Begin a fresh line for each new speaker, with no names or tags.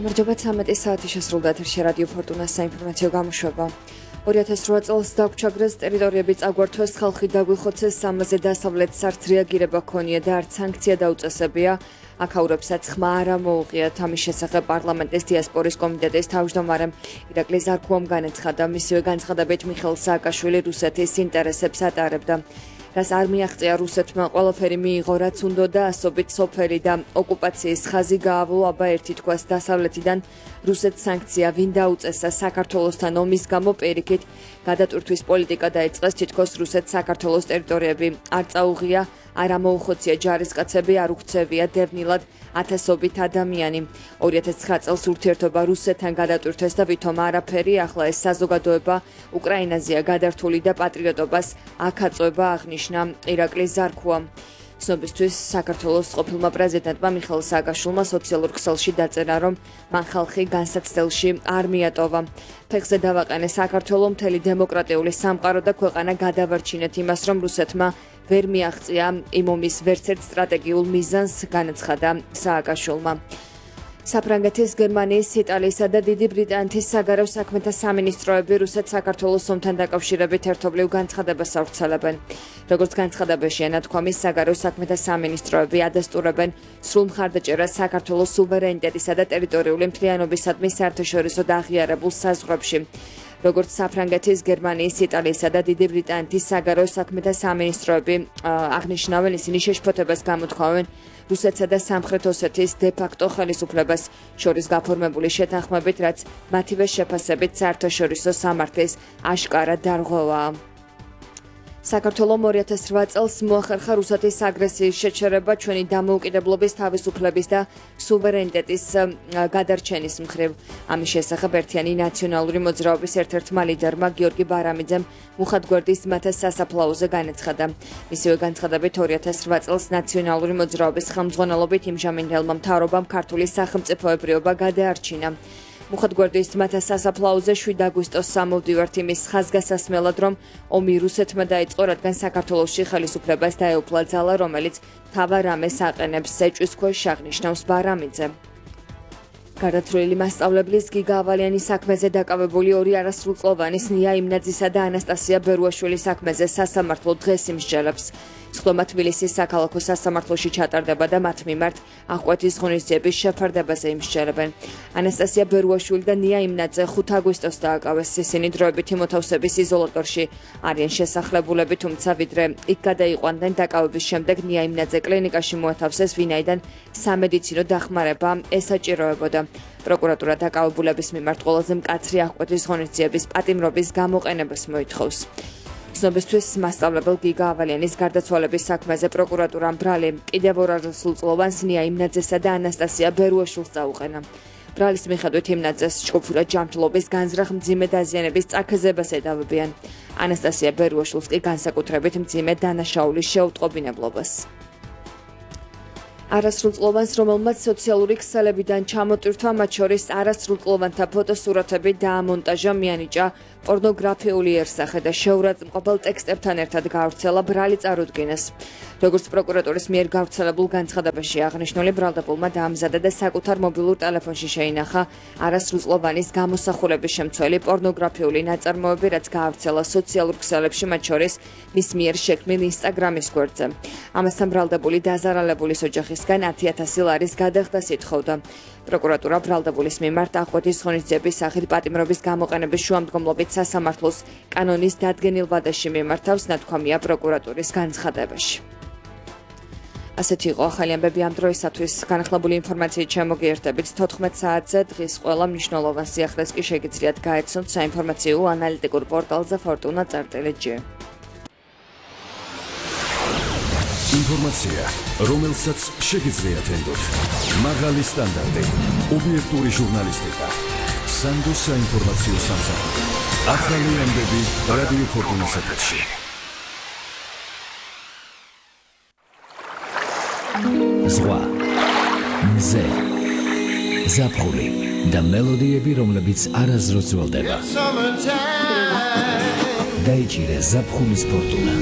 გამარჯობა 13 საათი შესრულდა ეთერში რადიო ფორტუნას საინფორმაციო გამოშვება. 2008 წელს დაგვრჩაგრეს ტერიტორიები წაგვართვეს, ხალხი დაგვიხოცეს, ამაზე დასავლეთ სარდ რეაგირება ქონია და არც სანქცია დაუწესებია. აქაურებსაც ხმა არ მოუღიათ. ამის შესახებ პარლამენტის დიასპორის კომიტეტის თავმჯდომარემ ირაკლი ზარქუამ განაცხადა, მისივე განცხადებით მიხეილ სააკაშვილი რუსეთის ინტერესებს ატარებდა. რაც არ მიაღწია რუსეთმა ყველაფერი მიიღო, რაც უნდოდა, ასობით სოფელი და ოკუპაციის ხაზი გაავლო, აბა ერთი თქواس დასავლეთიდან რუსეთს სანქცია ვინ დაუწესა საქართველოსთან ომის გამო პირიქით გადატვირთვის პოლიტიკა დაიწყეს, თითქოს რუსეთს საქართველოს ტერიტორიები არ წაუღია, არ ამოუხოცია ჯარისკაცები, არ უქცევია დევნილად ათასობით ადამიანი. 2009 წელს ურთიერთობა რუსეთთან გადატვირთვეს და ვითომ არაფერი, ახლა ეს საზოგადოება უკრაინაზეა გადართული და პატრიოტობას აქ აღნიშნა ირაკლი ზარქუა. ცნობისთვის საქართველოს ყოფილმა პრეზიდენტმა მიხეილ სააკაშვილმა სოციალურ ქსელში დაწერა, რომ მან ხალხი განსაცდელში არ მიატოვა. ფეხზე დავაყენე საქართველო, მთელი დემოკრატიული სამყარო და ქვეყანა გადავარჩინეთ იმას, რომ რუსეთმა ვერ მიაღწია იმ ომის ვერცერთ სტრატეგიულ მიზანს, განაცხადა სააკაშვილმა. საფრანგეთის, გერმანიის, იტალიისა და დიდი ბრიტანეთის საგარეო საქმეთა სამინისტროები რუსეთს საქართველოს ომთან დაკავშირებით ერთობლივ განცხადებას ავრცელებენ. როგორც განცხადებაში ენათქვამის, საგარეო საქმეთა სამინისტროები ადასტურებენ სრულ მხარდაჭერას საქართველოს სუვერენიტეტისა და ტერიტორიული მთლიანობისადმი საერთაშორისო და აღიარებულ საზღვრებში. როგორც საფრანგეთის, გერმანიის, იტალიისა და დიდი ბრიტანეთის საგარეო საქმეთა სამინისტროები აღნიშნავენ, ისინი შეშფოთებას გამოთქვამენ რუსეთსა და სამხრეთ ოსეთის დე-ფაქტო ხელისუფლებას შორის გაფორმებული შეთანხმებით, რაც მათივე შეფასებით საერთაშორისო სამართლის აშკარა დარღვევაა. საქართველომ 2008 წელს მოახერხა რუსეთის აგრესიის შეჩერება ჩვენი დამოუკიდებლობის, თავისუფლების და სუვერენიტეტის გადარჩენის მხრივ. ამის შესახებ ერთიანი ნაციონალური მოძრაობის ერთ-ერთმა ლიდერმა გიორგი ბარამიძემ მუხათგვერდის მათეს სასაფლაოზე განაცხადა. მისივე განცხადებით 2008 წელს ნაციონალური მოძრაობის ხელმძღვანელობით იმჟამინდელმა მთავრობამ ქართული სახელმწიფოებრიობა გადაარჩინა. მუხათგვერდის მათეს სასაფლაოზე 7 აგვისტოს სამოვდივართ იმის ხაზგასასმელად, რომ ომი რუსეთმა დაიწყო, რადგან საქართველოში ხელისუფლებას დაეუფლა ძალა, რომელიც მთავარ რამეს აყენებს, ეჭვის ქვეშ აღნიშნავს ბარამიძე. გარდაცვლილი მასწავლებლის გიგა ავალიანის საქმეზე დაკავებული ორი არასრულწლოვანის ნია იმნაძისა და ანასტასია ბერუაშვილის საქმეზე სასამართლო დღეს იმსჯელებს. სხდომა თბილისის საქალაქო სასამართლოში ჩატარდება და მათ მიმართ აღკვეთის ღონისძიების შეფარდებაზე იმსჯელებენ. ანასტასია ბერუაშვილი და ნია იმნაძე 5 აგვისტოს დააკავეს. ისინი დროებითი მოთავსების იზოლატორში არიან შესახლებულები, თუმცა ვიდრე იქ გადაიყვანდნენ, დაკავების შემდეგ ნია იმნაძე კლინიკაში მოათავსეს, ვინაიდან სამედიცინო დახმარება ესაჭიროებოდა. პროკურატურა დაკავებულების მიმართ ყველაზე მკაცრი აღკვეთის ღონისძიების პატიმრობის გამოყენებას მოითხოვს. ცნობისთვის მასწავლებელ გიგა ავალიანის გარდაცვალების საქმეზე პროკურატურამ ბრალი კიდევ ორ არასრულწლოვანს ნია იმნაძესა და ანასტასია ბერუაშვილს წაუყენა. ბრალის მიხედვით იმნაძეს ჭკუფილად ჯანმრთელობის განზრახ მძიმე დაზიანების წაქეზებას ედავებიან. ანასტასია ბერუაშვილს კი განსაკუთრებით მძიმე დანაშაულის შეუტყობინებლობას. არასრულწლოვანს, რომელმაც სოციალური ქსელებიდან ჩამოტვირთვა, მათ შორის არასრულწლოვანთა ფოტოსურათები დაამონტაჟა, მიანიჭა პორნოგრაფიული იერსახე და შეურაცხმყოფელ ტექსტებთან ერთად გაავრცელა, ბრალი წარუდგინეს. როგორც პროკურატურის მიერ გავრცელებულ განცხადებაში აღნიშნული, ბრალდებულმა დაამზადა და საკუთარ მობილურ ტელეფონში შეინახა არასრულწლოვანის გამოსახულების შემცველი პორნოგრაფიული ნაწარმოები, რაც გაავრცელა სოციალურ ქსელებში, მათ შორის მის მიერ შექმნილ ინსტაგრამის გვერდზე. ამასთან ბრალდებული დაზარალებულის ოჯახისგან 10,000 ლარის გადახდას ითხოვდა. პროკურატურა ბრალდებულის მიმართ აღკვეთის ღონისძიების სახით პატიმრობის გამოყენების შუამდგომლობით სასამართლოს კანონის დადგენილ ვადაში მიმართავს, ნათქვამია პროკურატურის განცხადებაში. ასეთი იყო ახალი ამბები ამ დროისათვის. განახლებული ინფორმაციით შემოგიერთებით 14 საათზე. დღის ყველა მნიშვნელოვან სიახლეს კი შეგიძლიათ გაეცნოთ საინფორმაციო ანალიტიკურ პორტალზე fortuna.gr.
ინფორმაცია, რომელსაც შეგიძლიათ ენდოთ. მაღალი სტანდარტი, ობიექტური ჟურნალისტიკა. სანდო საინფორმაციო სამსახური. ახალი ამბები რადიო ფორტუნას ეთერში.
ზღვა, მზე, ზაფხული და მელოდიები, რომლებიც არასდროს ძველდება. დაიჭირე ზაფხულის ფორტუნა.